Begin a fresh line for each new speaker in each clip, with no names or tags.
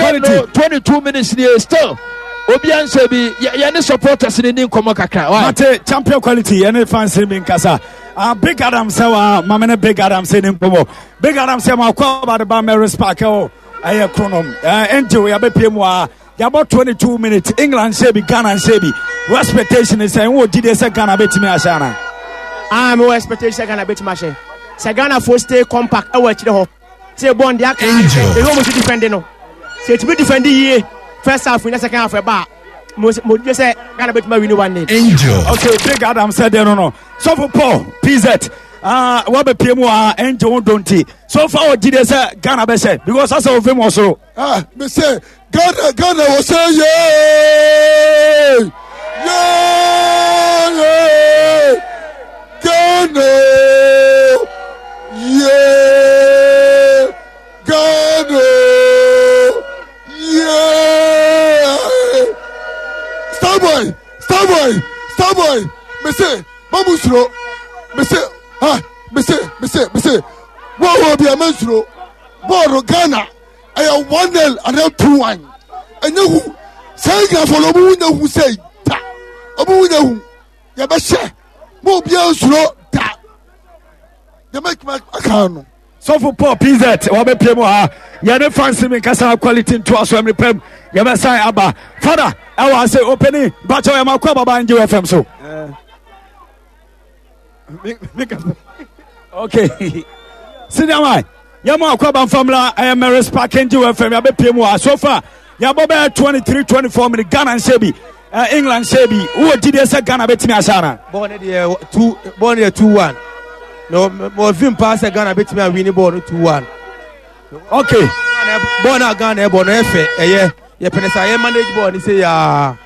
Quality.
22 minutes nie still obi anhyɛ bi yɛne supporters ne ni nkɔmmɔ kakra.
Mate champion quality yɛne fans bi nkasa. Ah, Big Adam sɛ wa mame ne Big Adam sɛ ne nkɔmmɔ. Big Adam sɛ ma kɔ aba de ba Mary's Park ɛwɔ ɛyɛ kronom. Angel yɛbɛpie mu a yɛabɔ 22 minutes England hyɛ bi Ghana nhyɛ bi. Wo expectation sɛ wowɔ gyidie sɛ Ghana bɛtumi ahyɛ ana?
Ah, mewɔ expectation sɛ Ghana bɛtumi ahyɛ. Sɛ Ghana fo stay compact ɛwɔ akyire hɔ. Sɛ bɔn deɛ aka ebi wɔn ti defend no. Sɛ etumi defend yie first half na second half ɛba a mo mo gye sɛ Ghana bɛtumi awini 1-0.
Angel. Okay, Big Adam sɛ deɛ no no. Sɔfo Paul PZ ah wabɛpie mu a Angel ho dɔ nti. So far wɔ gyidie sɛ Ghana bɛhyɛ because asɛ ofim wɔ soro.
Ah, me sɛ Ghana Ghana wɔ sɛ yee yee Ghana yee Ghana yee Starboy Starboy Starboy me se mamu suro me se ha me se me se me se wɔn wɔ bi a me nsuro bɔɔl Ghana. Ɛyɛ 1-0 anaa 2-1. Ɛnyɛ hu. Saa Englandfoɔ no, ɔmo ho nyɛ hu sɛ da. Ɔmo ho nyɛ hu. Yɛbɛhyɛ. Mo obiara nsuro da. Deɛ mɛtumi aka no.
Sɔfo Paul PZ wabɛpie mu ha. Yɛne fans mi nkasa quality ntoa so ɛmere pɛm. Yɛbɛsan aba. Fada ɛwɔ ase opani bakyɛw yɛ makɔ ababa ngye FM so. Okay. Senior man, yɛma akɔ abanfamla ɛyɛ Mary's Park ngye FM yɛabɛpie mu ha. So far yɛabɔ bɛyɛ 23 24 minutes Ghana nhyɛ bi. England hyɛ bi. Wowɔ gyidie sɛ Ghana bɛtumi ahyɛ ana?
Bɔɔl no deɛ two bɔɔl no deɛ 2-1. Na mɔ vim paa sɛ Ghana bɛtumi awini bɔɔl no 2-1.
Okay.
Bɔɔl no a Ghana ɛbɔ no ɛfɛ ɛyɛ yɛpɛ ne sɛ yɛ manage bɔɔl no sɛ yaa.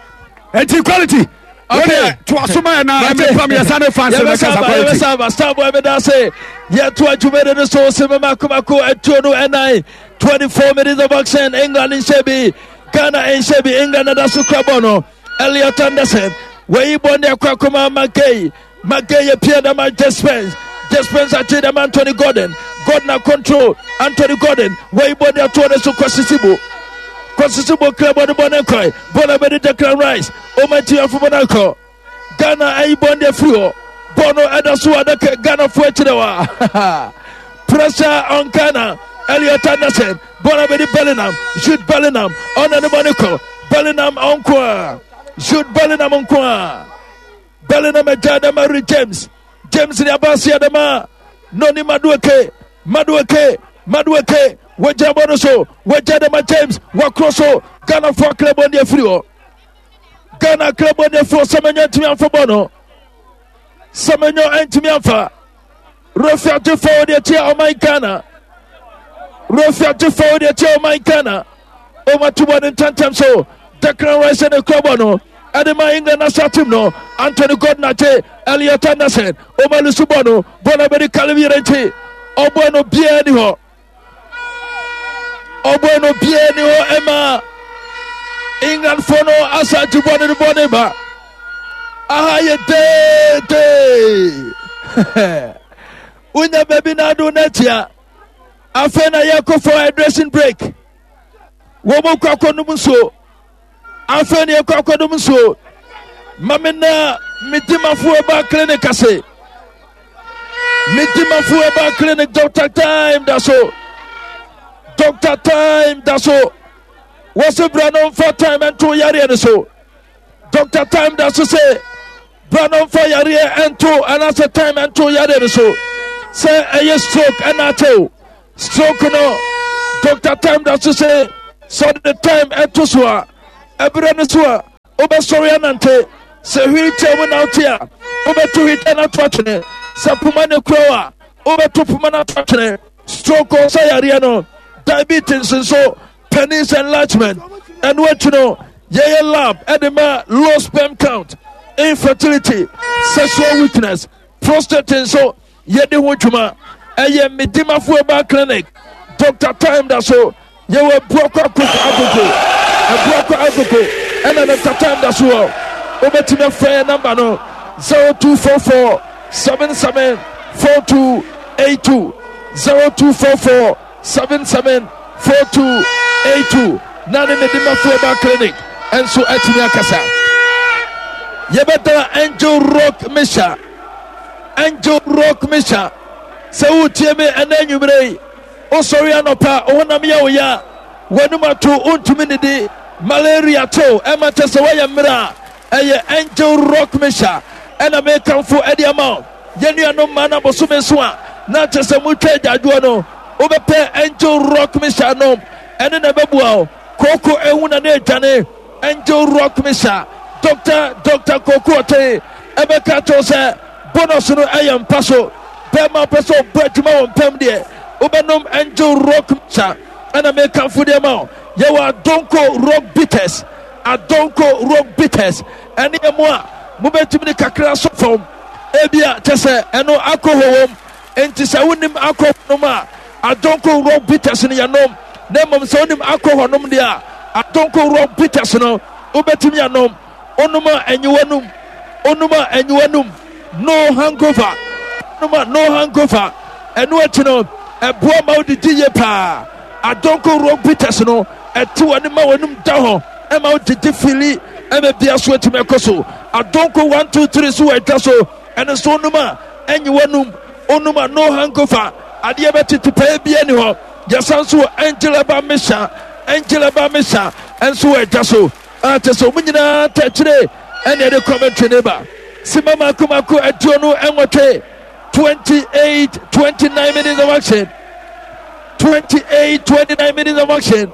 Eti quality. Okay. To asoma yɛ na ɛmɛ pam yɛ sani fans bɛ kasa quality.
Yɛbɛsa aba Starboy bɛ da se yɛto adwuma no so sɛ mɛma komako atuo no ɛnan 24 minutes of action England nhyɛ bi Ghana nhyɛ bi England ada so kura bɔ no Elliot Anderson wɔyi bɔ ne akɔ akɔma Magay Magay yɛ pia dama Jespens Jespens akye dama Anthony Gordon Gordon a control Anthony Gordon wɔyi bɔ ne atoɔ ne so kɔsisi bo kɔsisi bo kura bɔ ne bɔ ne nkɔe bɔ na bɛde Declan Rice ɔma nti afobɔ no akɔ Ghana ayi bɔ ne afiri hɔ bɔ no ɛda so adaka Ghana fo akyerɛ wa pressure on Ghana Elliot Anderson bɔ na bɛde Bellingham Jude Bellingham ɔna ne bɔ ne kɔ Bellingham ɔnko a Jude Bellingham nko a Bellingham agya dama Reece James James ne abase adama Noni Madueke Madueke Madueke wɔgya bɔ no so wɔgya dama James wɔkorɔ so Ghana fo akra bɔ ne afiri hɔ Ghana akra bɔ ne afiri hɔ Semenyo ntumi amfa bɔ no Semenyo ntumi amfa Refi agye fɔw de akyia ɔman Ghana Refi agye fɔw de akyia ɔman Ghana Ɔma to bɔ ne ntɛntɛm so Declan Rice ne kura bɔ no ɛde ma England national team no Anthony Gordon agye Elliot Anderson ɔma lusu bɔ no bɔ no abɛdi Caleb Yirenkyi ɔbɔ no biara ni hɔ ɔbɔ no biara ni hɔ ɛma England fo no asa agye bɔ no de bɔ ne ba aha yɛ deedee wonya baabi na ado no atia afei na yɛkɔ for hydration break wɔn mu kɔ akɔnom nsuo afei na yɛkɔ akɔnom nsuo mame na medimafoɔ ba clinic ase medimafoɔ ba clinic doctor time da so doctor time da so wɔsi bra no mfa time nto yareɛ no so doctor time da so sɛ bra no mfa yareɛ nto anaasɛ time nto yareɛ no so sɛ ɛyɛ stroke ɛna akyɛw stroke no doctor time da so sɛ sɛ ɔde time ɛto so a ɛberɛ no so a wobɛsɔre anante sɛ wheelchair mu na wote a wobɛto wheelchair no ato atwene sɛ poma ne kura a wobɛto poma no ato atwene stroke ɔsɛ yareɛ no diabetes nso penis enlargement ɛno akyi no yɛyɛ lab ɛde ma low sperm count infertility sexual weakness prostate nso yɛde ho dwuma ɛyɛ medimafo herbal clinic dr time da so yɛwɔ abuakɔ akoko agogo abuakɔ agogo ɛna dr time da so wɔ wobɛtumi afrɛ yɛ namba no 0244 77 4282 0244 77 4282. na ne Medimafo Herbal Clinic nso atumi akasa. Yɛbɛda Angel Rock Mixture, Angel Rock Mixture. Sɛ woretie me ɛnɛ anwummerɛ yi, wosɔre anɔpa, wo honam yɛ wo ya, w'anum ato, wontumi nidi, malaria to, ɛma kyɛ sɛ woayɛ mmerɛ a, ɛyɛ Angel Rock Mixture ɛna mekamfo ɛde ama wo. Yɛn nuanom mmaa no abosome so a na kyɛ sɛ motwa agyaadwoɔ no, wobɛpɛ Angel Rock Mixture nom, ɛno na ɛbɛboa wo. Kooko ehu na na edwane. Angel Rock Misa, Dɔkta Dɔkta Kooko Ɔtee ɛbɛka akyerɛ wo sɛ bonus no ɛyɛ mpa so. Bɛrima wopɛ sɛ ɔbɔ adwuma wɔ mpam deɛ, wobɛnom Angel Rock Misa ɛna mekamfo deɛ ma wo. Yɛwɔ Adonko Rock Bitters, Adonko Rock Bitters ɛne ɛmo a mobɛtumi de kakra asɔ fam. Ebia kyɛ sɛ ɛno alcohol wom. Enti sɛ wonim alcohol nom a, adonko rock bitters no yɛnom. Na mmom sɛ wonim alcohol nom deɛ a, adonko rock bitters no wobɛtumi anom. Wonom a ɛnye w'anum. Wonom a ɛnye w'anum. No hangover. Wonom a no hangover. Ɛno akyi no, ɛboa ma wodidi yie paa. Adonko rock bitters no, ɛte w'anim ma w'anum da hɔ, ɛma wodidi fili, ɛma bia so atumi akɔ so. Adonko 1 2 3 so wɔ adwa so. Ɛno nso wonom a ɛnye w'anum, wonom a no hangover, adeɛ bɛtete pɛɛ biara ni hɔ. Yɛsan nso wɔ Angel Herbal Mixture, Angel Herbal Mixture nso wɔ ɛdwa so. A kyɛ sɛ wɔn nyinaa tɛkyerɛ ɛne ɛde commentary ne ba. Sima mako mako 28, 28, 29 minutes of action. 28, 29 minutes of action.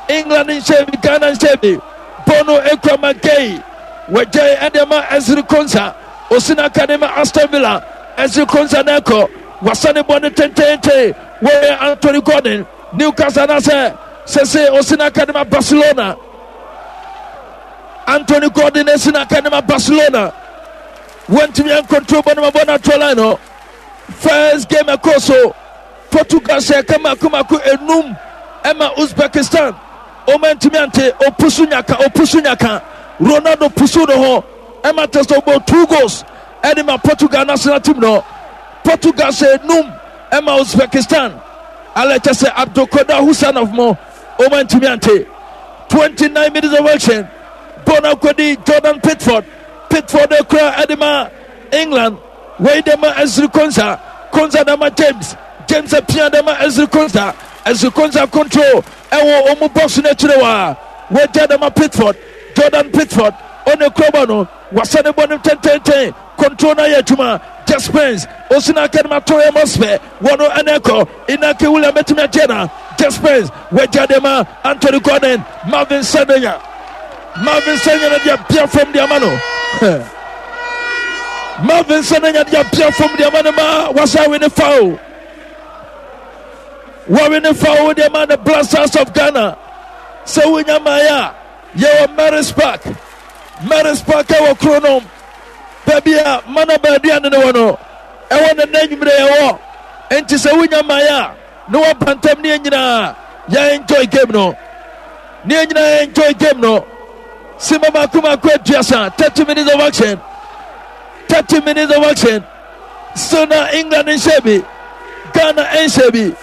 England nhyɛ bi, Ghana nhyɛ bi. Bono ekura Magay. Wɔgyae ɛde ama Ezri Konsa. Osi n'aka de ma Aston Villa. Ezri Konsa na ɛkɔ. Wasa ne bɔ no tententen. Wɔyɛ Anthony Gordon. Newcastle anaasɛ sese osi n'aka de ma Barcelona. Anthony Gordon esi n'aka de ma Barcelona. Wɔntumi ankontrol bɔ no ma bɔ no ato line no. First game ɛkɔ so. Portugal hyɛ ɛka mako mako enum ɛma Uzbekistan. Wɔn antumi ante opusu nyaka opusu nyaka. Ronaldo pusu ne ho ɛma kyɛ sɛ ɔbɔ two goals ɛde ma Portugal national team no. Portugal hyɛ enum ɛma Uzbekistan. Alɛ kyɛ sɛ Abdulkodir Husanov mo wɔn antumi ante. 29 minutes of action. Bɔɔl no akɔdi Jordan Pickford. Pickford ekura ɛde ma England. Wei de ma Ezri Konsa. Konsa de ma James. James apia de ma Ezri Konsa. Ezri Konsa control ɛwɔ wɔn box no akyire hɔ a wɔagya de ma Pickford. Jordan Pickford ɔne kurɔbɔ no wasa ne bɔ no tɛntɛntɛn control no ayɛ adwuma. Just Spence osi na aka de ma Torre Mospe wɔn no ɛna ɛkɔ Inaki William bɛtumi agye na Just Spence wɔagya de ma Anthony Gordon. Marvin Sandenya Marvin Sanya na de apia fam de ama no. Marvin Sanya de apia fam de ama no ma wasa we ne foul. Wɔwe ne foul de ama the Blasters of Ghana. Sɛ wonya mmaeɛ a yɛwɔ Mary's Park. Mary's Park ɛwɔ kuro no baabi a mana baaduane no wɔ no ɛwɔ ne nna anwummerɛ yɛwɔ. Nti sɛ wonya mmaeɛ a ne waba ntam ne yɛn nyinaa yɛ enjoy game no ne yɛn nyinaa enjoy game no sima mako mako aduasa 30 minutes of action 30 minutes of action still na England nhyɛ bi Ghana nhyɛ bi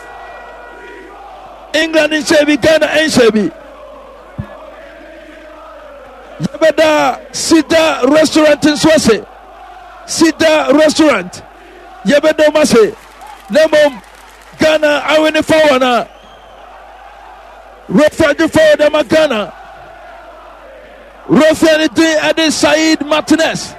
England nhyɛ bi Ghana nhyɛ bi yɛbɛda Sida restaurant nso ase Sida restaurant yɛbɛda wɔn ase na mmom Ghana awe ne fa wɔn a Rafael de fa wɔn ama Ghana. Rafael ne din ɛde Said Martinez.